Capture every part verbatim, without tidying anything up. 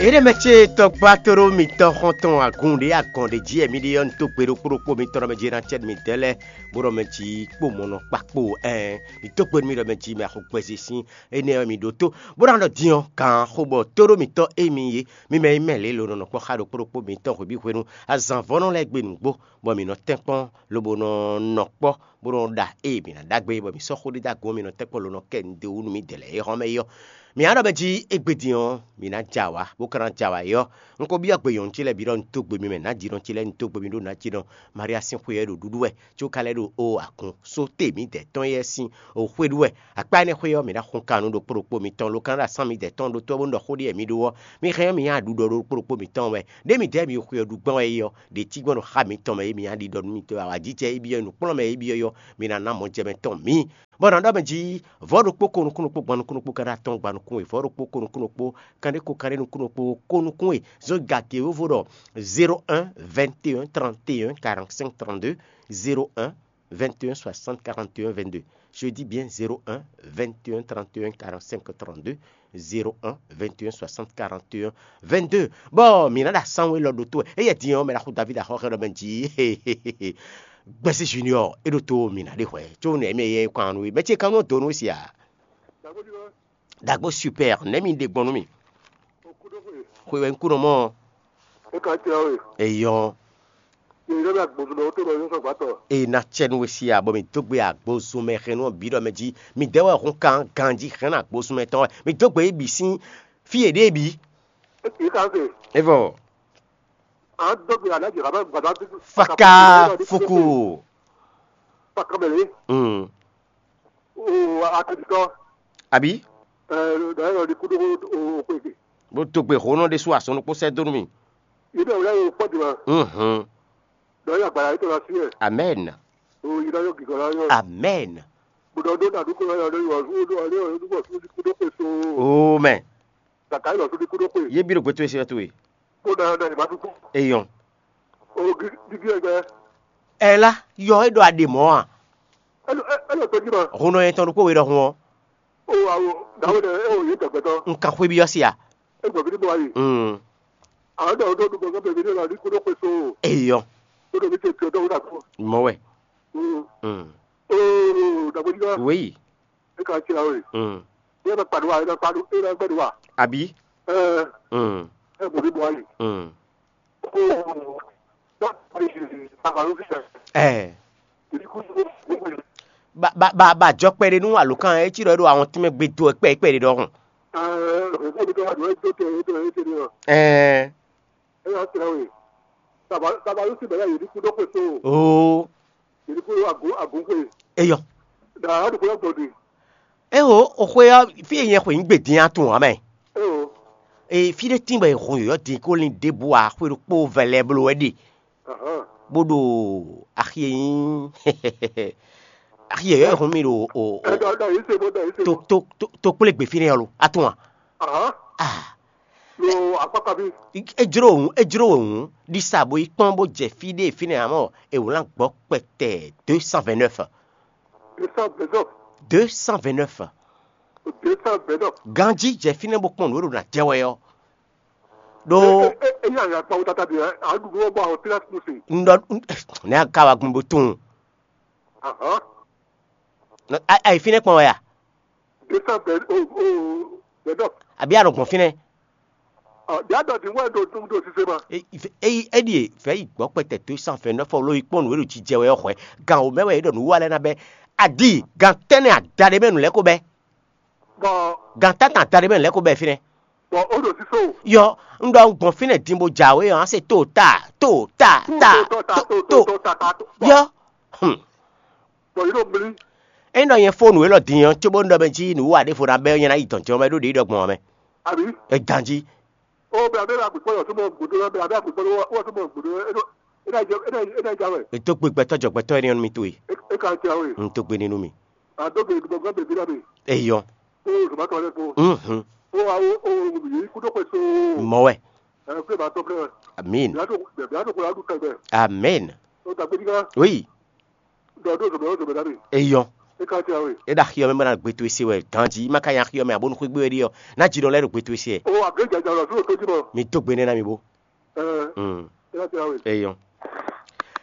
Éɖée mɛ ce tɔgba tóɖó mitɔn xɔntɔn agun ɖě agɔn ɖě jí wɛ mi ɖe ɔ́, un dó gbe ɖokpó ɖokpó mitɔn ɖɔ mɛ jí ná cɛ́ nú midɛɛ lɛ́ɛ, bó ɖɔ mɛ jí kpó mɔ̌ nɔ kpa kpó ɛn mi dó gbe nú mì ɖɔ mɛ jí mɛ axo gbɛzé sín énɛ́ ɔ́ mi ɖótó, bó ná ɖɔ din ɔ́, gǎn xo bɔ tóɖó mitɔn e mi yě, mi mɛ e mɛ lě lo nɔ nɔ kpɔ́ xá ɖokpó ɖokpó mitɔn hwebǐ hwenu, azǎn vɔ́ nɔ lɛ́ɛ gbe nǔgbó, bɔ mǐ nɔ tɛ́nkpɔ́n lobo nɔ nɔ kpɔ́ bó nɔ́ ɖa ée mǐ ná ɖagbe, bɔ mǐ sɔ́ xó ɖé dó agun ɔ́, mǐ nɔ tɛ́nkpɔ́n lo nɔ kɛ nǔɖé wú nú mǐdɛɛ lɛ́ɛ e hɔn mɛ é ɔ́. Mǐ ná ɖɔ mɛ jí égbé din ɔ́, mǐ ná ja awǎ, bó ka ná ja awǎ é ɔ́, un ko byɔ́ gbe nyɔ̌nu ce lɛ́ɛ bǐ ɖɔ un dó gbe mi mɛ nǎjínɔ ce lɛ́ɛ, un dó gbe mi ɖó nǎjínɔ Maria sín xwe ɔ́ ɖo ɖuɖu wɛ, có ka lɛ́ ɖo o agun só te mǐdɛɛ tɔn éyɛ́ sín o xwé ɖu wɛ. Akpá énɛ́ xwé ɔ́, mǐ ná xun kan nú ɖokpó ɖokpó mitɔn, lo ka ná ɖo asán mǐdɛɛ tɔn ɖó tó ɔ́ bó nú ɖɔ xó ɖé wɛ mi ɖó ɔ́, mi hɛn ɔ́, mi nyi aɖuɖɔ ɖokpó ɖokpó mitɔn wɛ. Ɖěe mǐdɛɛ mi xwe ɔ́ ɖu gbɔn wɛ é ɔ́, ɖě cí gbɔn ɖo xá mitɔn mɛ é mi ná ɖiɖɔ nú mitɔn awǎjijɛ é byɔ́ nǔkplɔ́nmɛ é byɔ́ ɔ́, mi ná ná mɔjɛmɛ tɔn mǐ. Bɔ nǎ ɖɔ mɛ jí vɔ̌ ɖokpó ko nukún ɖokpó gban nukún ɖokpó ka ɖo atɔn gban nukún we, vɔ̌ ɖokpó ko nukún ɖokpó kan ɖé ko kan ɖé nukún ɖokpó ko nukún we, zɔn gǎgé wóvo ɖɔ zéro un vingt et un trente et un quarante-cinq trente-deux, zéro un vingt et un soixante quarante et un vingt-deux. Je dis bien zéro un vingt et un trente et un quarante-cinq trente-deux, zéro un vingt et un soixante quarante et un vingt-deux. Bɔ mǐ ná ɖo asánwó élɔ́ ɖótó wɛ. Éyɛ́ din ɔ́, mɛ ɖaxó David axɔ́ xɛ ɖɔ mɛ jí Gbɛsí Junior é ɖótó mǐ ná ɖe hwɛ. Có nɛ̌ mɛ yɛ kɔn nú we? Mɛ ce kan nɔ dó nú we sia. Dagbo super, nɛ̌ mi ɖe gbɔn nú mì? Xwe wɛ un kú nɔ mɔ. É ka jɛ we. Eyɔn. Yě ɖɔ mɛ agbozunɔ tó nɔ yósɔ gbàtɔ. Eye ná cɛ nú we sia, bɔ mǐ dó gbe agbozun mɛ hɛn nú bǐ ɖɔ mɛ jí mǐ dɛ́ wɛ hun kan ganjí hɛn agbozun mɛ tɔn wɛ. Mǐ dó gbe yě bǐ sín fí yě ɖe bǐ. Yě ka se. Evɔ. An dó gbe alájì rábà gbàdá. Faka fuku. Faka mɛ lé. Mm. O atɛtitɔ. Àbí? Ɛ, ɖɔ yɛ lɔ di kúɖó o xwé ke. Bó dó gbe hǒnɔ ɖé sú asɔnukpó sɛ́ dó nú mì. Yě bɛ wlá yóò kpɔ́ dìbò. Mhm. Ɖɔ yóò agbára yìí tó lọ sí ẹ̀. Amen. O yìí lọ yóò gígọ́ lọ yóò. Amen. Gbọdọ̀ dó nàdú kó lọ yóò lọ yóò lọ yóò lọ kúdó pé so. Amen. Kàkà yìí lọ sódì kúdó pé. Yé bí ɖo gbé tó e sí wɛ tó e. Kó dáná dáná ìbá tó kú. Eyɔn. O gígí ẹgbẹ́. Ɛ lá yɔ é ɖo aɖe mɔ̌ a? Ɛ lɔ ɛ lɔ tɔjú ma. Hun nɔ yẹn tɔn ɖokpó we ɖɔhun ɔ́. O awo dàwé dɛ ɛ o yé tɔgbɛtɔ. Nkan xwé byɔ́ sí a? Ɛ gbɔ bí ní bɔ ayi. Mm. Àwọn dàwé tó dùgbò gbọ́ bèbí ní ọ̀la ní kúdó pé so. Eyɔn. Kúdó bí tẹ̀ tẹ̀ dọ́wọ́ dàgbò. Mɔ wɛ. Mm. Mm. O dàgbò jí wá. Wéyì. E ka cira we. Mm. E bɛ kpaɖo wa, e bɛ kpaɖo, e bɛ gbɛɖo wa. Àbí? Ɛ Mm. E bɔ bí bɔ ayi. Mm. O dɔ ayi baba ló fi sɛ. Ɛ Èyí kú sí gbogbo yìí. Ba ba ba ba jɔ kpɛɖé nú alǒkan ɛ cí ɖɔ é ɖo àwọn tínmɛ gbe dó ɛ kpɛ kpɛɖé ɖɔhun. Ɛ Èyí kú mi tó wá dùn ẹ́ tó tẹ ẹ́ tó ẹ́ tẹ ní ɔ. Ɛ Ɛ yà cira we. Baba baba ló sì bẹ̀rẹ̀ yìí kú dó pé so. Oo. Yìí kú agun agun pé. Eyɔ. Dàrá dùkú lọ gbọ̀dì. Ɛ o, o xwe ɔ́, fí e nyɛ xwe nyí gbedin á tún ǎ mɛ. Ɛ o. E fí ɖé tín bɔ è hun yɔ̌yɔ́ din kó lin ɖěbǔ ǎ, xwe ɖokpó vɛlɛ bló wɛ ɖe. Ahán. Bó ɖo axi e nyí axi yɔ̌yɔ́ e hun mì ɖo o Ɛ o dɔ dɔ yìí se bó dɔ yìí se to bó. To to to kplé gbe fínɛ́ ɔ́ lo, a tún a? Ahán. Ah. Lo akpákpá bí. E jló òun, e jló òun ɖisa bó yi kpɔ́n bó jɛ fí ɖé fínɛ́ amɔ è wlán gbɔ kpɛtɛ deux cent vingt-neuf. Deux cent vingt-neuf. Deux cent vingt-neuf. Deux cent vingt-neuf. Ganjí jɛ fínɛ́ bó kpɔ́n nǔ e ɖo ná jɛ wɛ ɔ́. Ɖó E e e yà yà kpawo tata de ɛ aɖuɖu wɔ bɔ àwọn pílásì kún se. Ŋɖɔ ne a ka wa gbɔn bó tunwun. Ahán. Ayi fínɛ́ kpɔn wɛ a? Deux cent vingt o o vingt-neuf. Àbí a nɔ gbɔn fínɛ́? Ɔ bí a dɔ di wɛ ɖo ɖo ɖo sise ma. Eyi eɖi e vɛ yi gbɔ kpɛtɛ deux cent vingt-neuf ɔ lo yi kpɔn nǔ e ɖo jijɛ wɛ ɔ́ xwɛ. Gan o mɛ wɛ e ɖɔ nǔ wa lɛ na bɛ. Adi gan tɛnɛ ada ɖe mɛ nǔ lɛ ko bɛ. Bɔn Gan tatan ada ɖe mɛ nǔ lɛ ko bɛ fínɛ́. Bɔn o ɖo sise o. Yɔ, un ɖɔ un gbɔn fínɛ́ din bó jǎwe ɔ́, a se to ta to ta ta to to. Yɔ. Hmm. Bɔn yìí ɖo mli. Ényí ɖɔ nyɛ fó nǔ élɔ́ din ɔ́, cóbó un ɖɔ mɛ jí nǔ wa ɖěvo ná bɛ́ ɔ́, nyɛ ná yi dɔ̌n jɛ́n ɔ́ mɛ ɖó ɖě yi ɖɔ gbɔn ɔ́ mɛ. Àbí? É ganjí. O bɛ abɛ la gbekpɔ yɔ sɔmɔ gbodo la bɛ abɛ gbekpɔ wɔ sɔmɔ gbodo e do e na jɛ e na e na ja wɛ. Ètò gbé gbɛtɔ jɔ gbɛtɔ yẹn ní mi tó ye. E ka ja wɛ. N tó gbé nínú mi. A do gbé gbɔ gbɛ bi la bi. Eyɔ. O zuma tɔ lɛ ko. Mhm. O awo o yi kudo kwe so. Mɔ wɛ. Ɛ kpe ba tɔ filɛ. Amin. Bia to bia to ko la du tɛgbɛ. Amin. O dagbe di ka. Oui. Dɔ do zɔmɛ o zɔmɛ da mi. Eyɔ. É ka tira we. É ɖo axi ɔ́ mɛ bó ná gbe towe se wɛ ganjí, má ka nya axi ɔ́ mɛ abo nú xwé gbé wɛ ɖi ɔ́, ná ji ɖɔ lɛ́ɛ ɖo gbe towe se wɛ. O, agě jajɛ lɔ sínú tó jí mɔ. Mi dó gbe nɛ́ ná mi bó. Ɛɛ, Mm. É ka tira we. Eyɔn.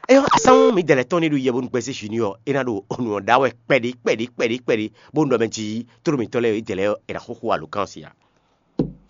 Eyɔn, asán mi dɛlɛ tɔn ní ɖo yɛ bónú gbɛzé junior é ná ɖo onú ɔ́ ɖá wɛ kpɛɖí kpɛɖí kpɛɖí kpɛɖí bónú ɖɔ mɛ jí tló mitɔn lɛ́ɛ é dɛlɛ é ná xóxó alokán si a.